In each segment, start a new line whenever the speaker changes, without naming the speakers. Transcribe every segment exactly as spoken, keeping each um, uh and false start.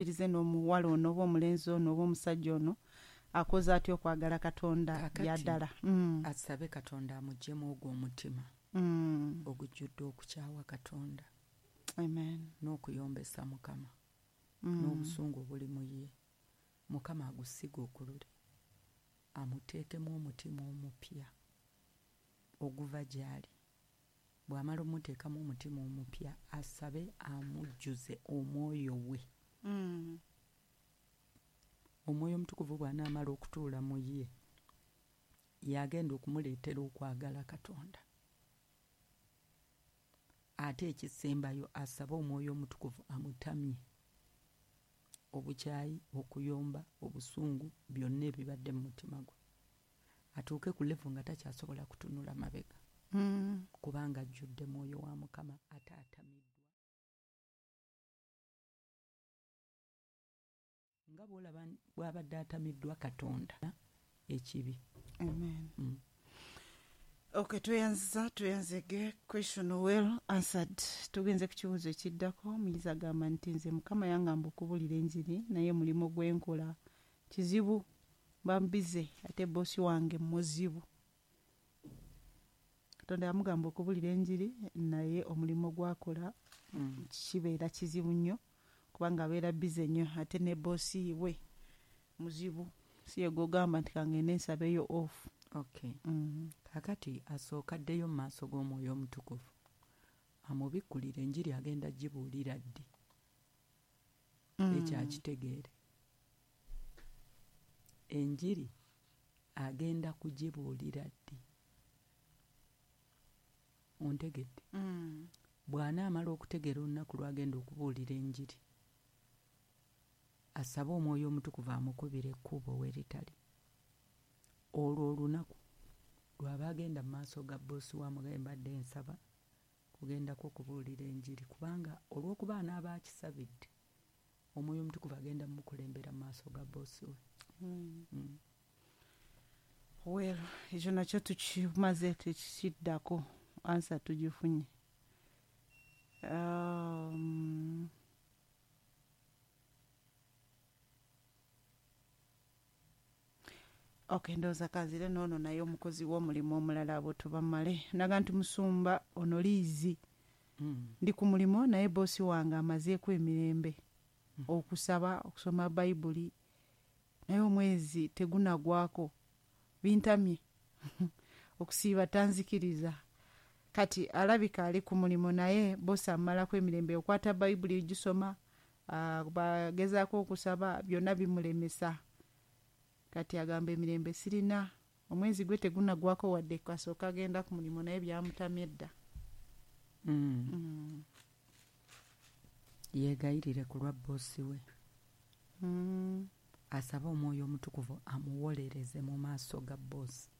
Irize n'omuwala ono oba omulenzi ono oba omusajja ono akoze atya okwagala Katonda
Kaakati,
byaddala? Mm.
Asabe Katonda amuggyemu ogwo omutima
Mm.
ogujjudde okukyawa Katonda
Amen.
n'okuyombesa Mukama
Mm.
n'obusungu obuli mu ye. Mukama agusiga okulule, amuteekemu omutima omupya oguva gy'ali. Bw'amala omuteekamu omutima omupya, asabe amujjuze omwoyo we.
Mm.
Omwoyo Omutukuvu bw'anaamala okutuula mu ye, y'agenda okumuleetera okwagala Katonda. Ate ekisembayo, asabe Omwoyo Omutukuvu amutamye obukyayi, okuyomba, obusungu, byonna ebibadde mu mutima gwe, atuuke ku level nga takyasobola kutunula mabega,
Mm.
kubanga ajjudde mwoyo wa Mukama ate atamiddwa. Nga bw'olaba bw'abadde atamiddwa Katonda ekibi.
Amen.
Mm.
Okay, tweyanziza, tweyanzege. Question well answered. Tugenze ku kibuuzo ekiddako. Omuyizi agamba nti nze Mukama yangamba okubulira enjiri, naye mulimu gwenkola kizibu, bambize ate boosi wange muzibu. Katonda yamugamba okubulira enjiri, naye omulimu gwakola
Mm.
kibeera kizibu nnyo kubanga abeera bize nnyo ate ne boosi we muzibu, si ye gw'ogamba nti kangende nsabeyo off.
Okay.
Mm.
Kaakati asooka addeyo mu maaso g'Omwoyo Omutukuvu amubikkulire enjiri agenda gibuulira ddi,
Mm.
ekyo akitegeere. Enjiri agenda kugibuulira ddi, ontegedde?
Mm.
Bw'anaamala okutegeera olunaku lw'agenda okubuulira enjiri, asabe Omwoyo Omutukuvu amukubire ekkubo we ritali. Olwo olunaku lw'aba agenda mu maaso ga bboosi wa mugabe, mbadde nsaba kugendako okubuulira enjiri, kubanga olw'okuba anaaba akisabidde, Omwoyo Omutukuvu agenda mumukulembera mu maaso ga bboosi we.
Mm.
Mm.
Well, ekyo nakyo tukimaze, tekikiddako, answer tugifunye. Um, okay, ndowooza kanzire n'ono naye omukozi w'omulimu omulala abo tubamale. Naga nti musumba ono liizi,
Mm.
ndi ku mulimu naye boosi wange amazeeko emirembe
Mm.
okusaba, okusoma Bayibuli, naye omwezi tegunagwako, bintamye okusiiba tanzikiriza. Kati alabika ali ku mulimu naye boosi amalako emirembe, okwata Bayibuli gisoma, ah, bagezaako okusaba, byonna bimulemesa. Kati agamba emirembe sirina, omwezi gwe tegunagwako wadde kasooka agenda ku mulimu naye byamutamye dda.
Mm.
Mm.
Yeegayirire ku lwa bboosi we,
Mm.
asabe Omwoyo Omutukuvu amuwolereze mu maaso ga bboosi,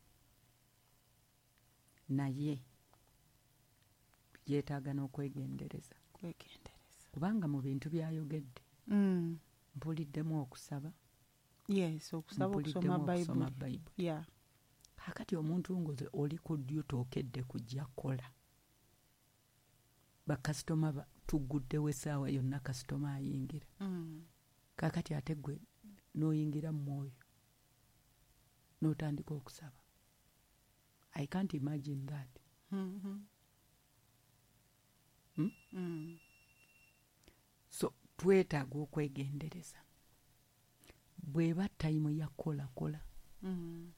naye yeetaaga n'okwegendereza,
Kwegendereza,
kubanga mu bintu by'ayogedde
Mm.
mpuliddemu okusaba,
Yes, okusaba, okusoma
mpuliddemu okusoma
Bayibuli.
Bayibuli.
Yeah.
Kaakati omuntu ng'oze oli ku ddyo tookedde kujja kukola, bakasitoma ba- tugguddewo essaawa yonna, kasitoma ayingira.
Mm.
Kaakati ate gwe n'oyingira mu mwoyo n'otandika okusaba. I can't imagine that.
Mm-hmm.
Hmm?
Mm.
So twetaaga okwegendereza. Bw'eba tayimu ya kukola, kola.
Mm.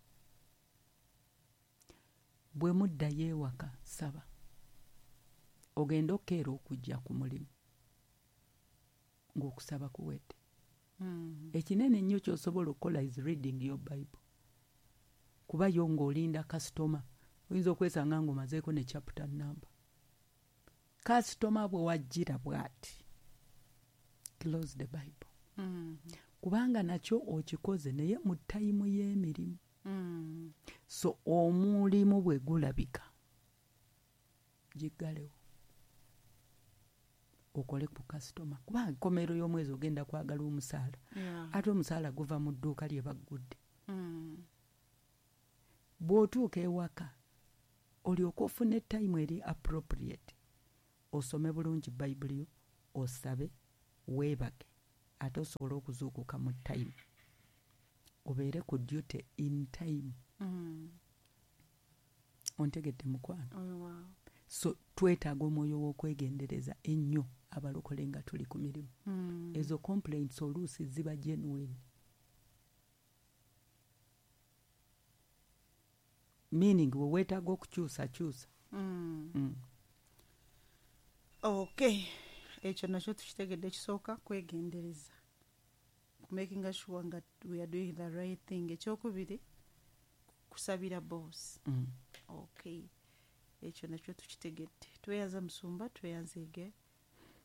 Bwe muddayo ewaka, saba, ogende okukeera okujja ku mulimu ng'okusaba kuwedde.
Mm.
Ekinene ennyo ky'osobola okukola is reading your Bible, kuba yo ng'olinda kasitoma oyinza okwesanga ng'omazeeko ne chapter number. Kasitoma bwe wajjira bw'ati, close the Bible,
Mm.
kubanga nakyo okikoze naye mu tayimu y'emirimu.
Mm.
So omulimu bwe gulabika, giggalewo okole ku kasitoma, kubanga enkomero y'omwezi ogenda kwagala omusaala,
Yeah.
ate omusaala guva mu dduuka lye baggudde.
Mm.
Bw'otuuka ewaka, olyoke ofune tayimu eri appropriate, osome bulungi Bayibuli yo, osabe, weebake. Ate osobola okuzuukuka mu time, obeere ku duty in time.
Mm.
Ontegedde mukwano?
Oh, wow.
So twetaaga omwoyo w'okwegendereza ennyo abalokole nga tuli ku mirimu.
Mm.
Ezo complaints oluusi ziba genuine, meaning we weetaaga okukyusakyusa.
Mm.
Mm.
Okay, ekyo nakyo tukitegedde. Ekisooka kwegendereza, making sure nga we are doing the right thing. Ekyokubiri kusabira boss.
Mm.
Okay, ekyo nakyo tukitegedde. Tweyanza musumba, tweyanzege.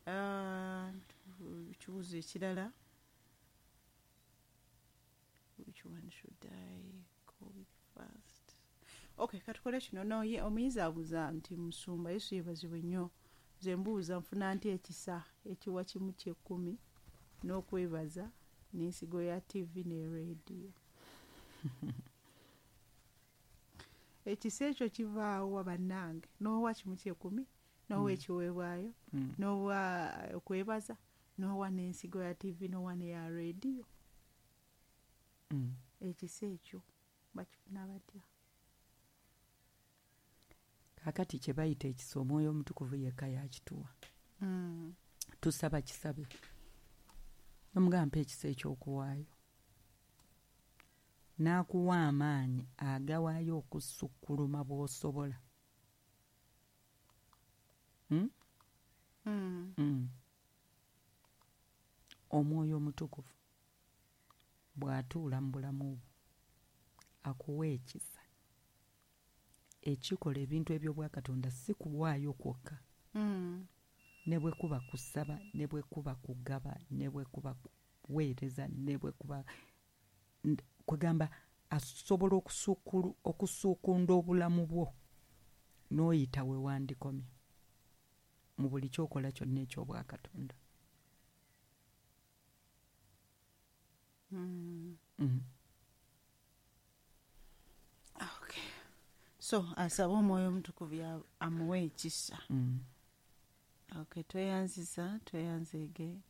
Ah, ekibuuzo ekirala, which one should I go with first? Okay, katukole kino. No, ye omuyizi abuuza nti, musumba, Yesu yeebazibwe nnyo, nze mbuuza nfuna nti ekisa ekiwa kimu kyekkumi n'okwebaza n'ensigo ya T V ne radio? Ekisa ekyo kivaawa bannange? N'owa kimu kyekumi, n'owa ekiweebwayo,
Mm.
n'owa okwebaza, n'owa n'ensigo ya T V, n'owa neya radio.
Mm.
Ekisa ekyo bakifuna batya?
Kaakati kye bayita ekisa, Omwoyo Omutukuvu yekka yakituwa.
Mm.
Tusaba kisabe, nomugamba mpa ekisa ekyokuwaayo, n'akuwa amaanyi agawaayo okusukkuluma bw'osobola. Mm?
Mm.
Mm. Omwoyo Omutukuvu bw'atuula mu bulamu bwo, akuwa ekisa ekikola ebintu eby'obwakatonda, si kuwaayo kwokka,
Mm.
ne bwe kuba kusaba, ne bwe kuba kugaba, ne bwe kuba kuweereza, ne bwe kuba n- kwegamba asobola okusuukulu- okusuukunda obulamu bwo n'oyita we wandikomye mu buli kyokola kyonna ekyobwakatonda.
Mm.
Mm.
Okay, so asaba Omwoyo Omutukuvu ya- amuwe ekisa.
Mm.
Okay, tweyanziza, tweyanzeege.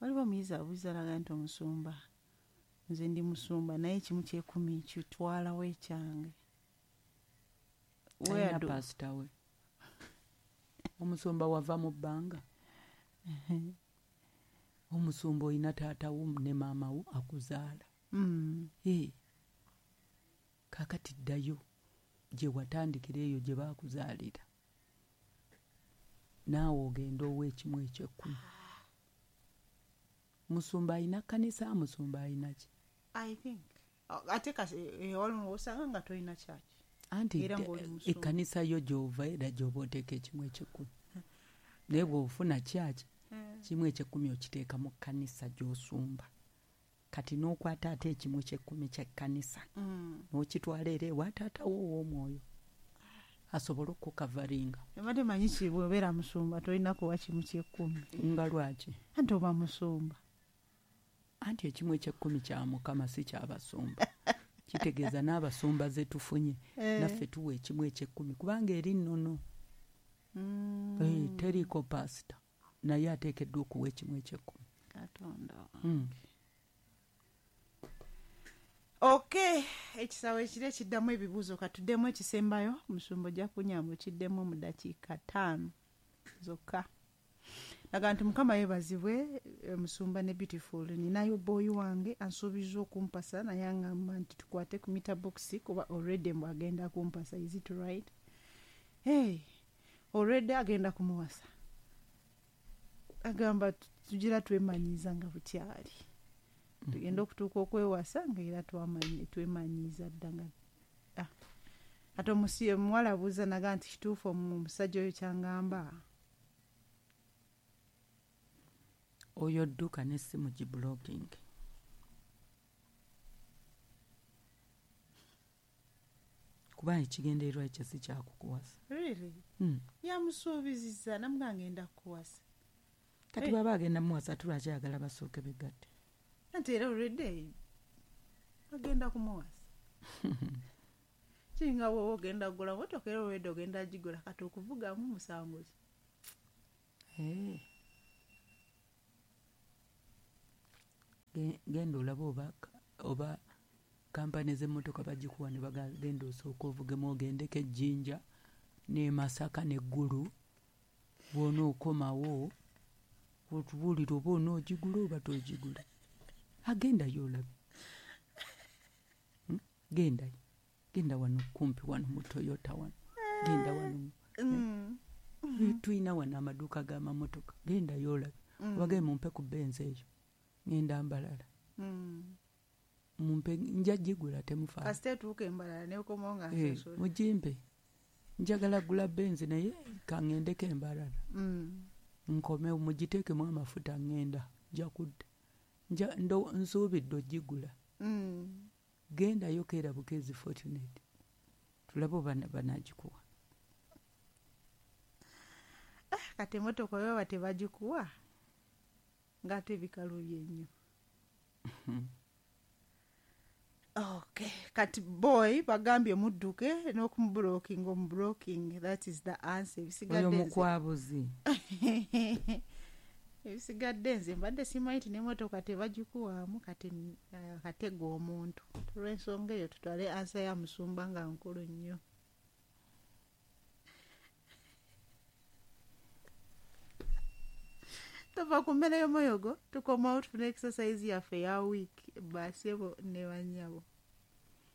Waliwo omuyizi abuuza alaga nti, omusumba, nze ndi musumba naye ekimu kyekumi kitwalawo ekyange. Where
Alina
do-
pasita we. Omusumba wava mu bbanga? Omusumba olina taata wo ne maama wo akuzaala.
Mm.
Ee, kaakati ddayo gye watandikira, eyo gye baakuzaalira, naawe ogenda owa ekimu ekyekkumi. Musumba alina kkanisa? Musumba alina ki?
I think Oh, ate kasi eh, waliwo osanga nga tolina kyaki
Anti
era
de-
ng'oli musumba.
Ekkanisa yo gy'ova era gy'oba oteeka ekimu ekyekkumi, naye bw'ofuna kyaki, kimu ekyekkumi okiteeka mu kkanisa gy'osumba. Kati n'okwata ate ekimu kyekkumi ky'ekkanisa
Mm.
n'okitwala era ewa taata wo ow'omwoyo asobole okukavaringa.
Ebadde manyi ki, bw'obeera musumba tolina kuwa kimu kyekkumi.
Nga lwaki?
Anti oba musumba.
Anti ekimu ekyekkumi kya Mukama, si kyabasumba. Kitegeeza n'abasumba ze tufunye,
Eh.
naffe tuwa ekimu ekyekkumi, kubanga eri nnono.
Mm.
Eh, teriiko pasita, naye ateekeddwa okuwa ekimu ekyekkumi.
Katonda.
Mm.
Okay, ekisawo ekiro ekiddamu ebibuuzo, katuddemu ekisembayo. Musumba, ojja kunyamba okiddemu mu dakiika ttaano zokka. Naga nti, Mukama yeebazibwe, eh, musumba ne Beautiful, ninayo boy wange ansuubiza okumpasa, naye aŋŋamba nti tukwate ku meter box kuba already mbu agenda kumpasa. Is it right? Hey, already agenda kumuwasa, agamba tu- tugira twemanyiiza nga bukyali, tugenda okutuuka okwewasa nga era twamanyi- twemanyiiza dda nga ah. Ate omusi omuwala abuuza naga nti, kituufu omusajja oyo kyangamba?
Oyo dduka n'essimu giblocking, kubanga ekigendererwa ekyo si kyakukuwasa.
Really?
Mm.
Yamusuubiziza namuga ngenda kukuwasa.
Kati
Eh.
bwaba agenda muwasa, tulwaki ayagala basooke begatte?
Anti era already agenda kumuwasa. Kiringa bwoba ogenda kugula motoka, era already ogenda gigula, kati okuvugamu musango ki?
Eh. Genda olabe oba oba kampani z'emmotoka bagikuwa ne bagenda osooka ovugemu ogendeko ejjinja ne Masaka ne Ggulu bw'onookomawo otubuulire oba onoogigula oba toogigula. Agendayo olabe. Hmm? Gendayo. Genda wano kumpi wano mu Toyota wano. Genda wano.
Mm.
Tulina wano amaduuka g'amamotoka. Gendayo olabe.
Mm.
Obagende mumpe ku Benz eyo. Ngenda Mbarara.
Mm.
Mumpe nja gigula temufaayo.
Kasita etuuka embalala n'ekomawo nga
Eh,
nsasula.
mugimpe. Njagala gula Benz naye kaŋŋendeko Embarara.
Mm.
Nkomewo mugiteekemu amafuta ŋŋenda nja kudda. Nja ndo nsuubidde ogigula.
Mm.
Gendayo keera bukeezi Fortunate. Tulabe oba banaagikuwa.
Ah, kati emmotoka bwe baba tebagikuwa ng'ate bikalubye nnyo. Okay, kati boy bagambye mudduke n'okumublocking omublocking, that is the answer.
Oyo
Ebisigadde nze
mukwabuzi.
Ebisigadde nze mbadde simanyi nti n'emmotoka tebagikuwaamu kati uh, katega omuntu. Olw'ensonga eyo tutwale answer ya musumba nga nkulu nnyo. Tova ku mmere y'omwoyo gwo tukomawo tufune exercise yaffe eya week basebo ne bannyabo.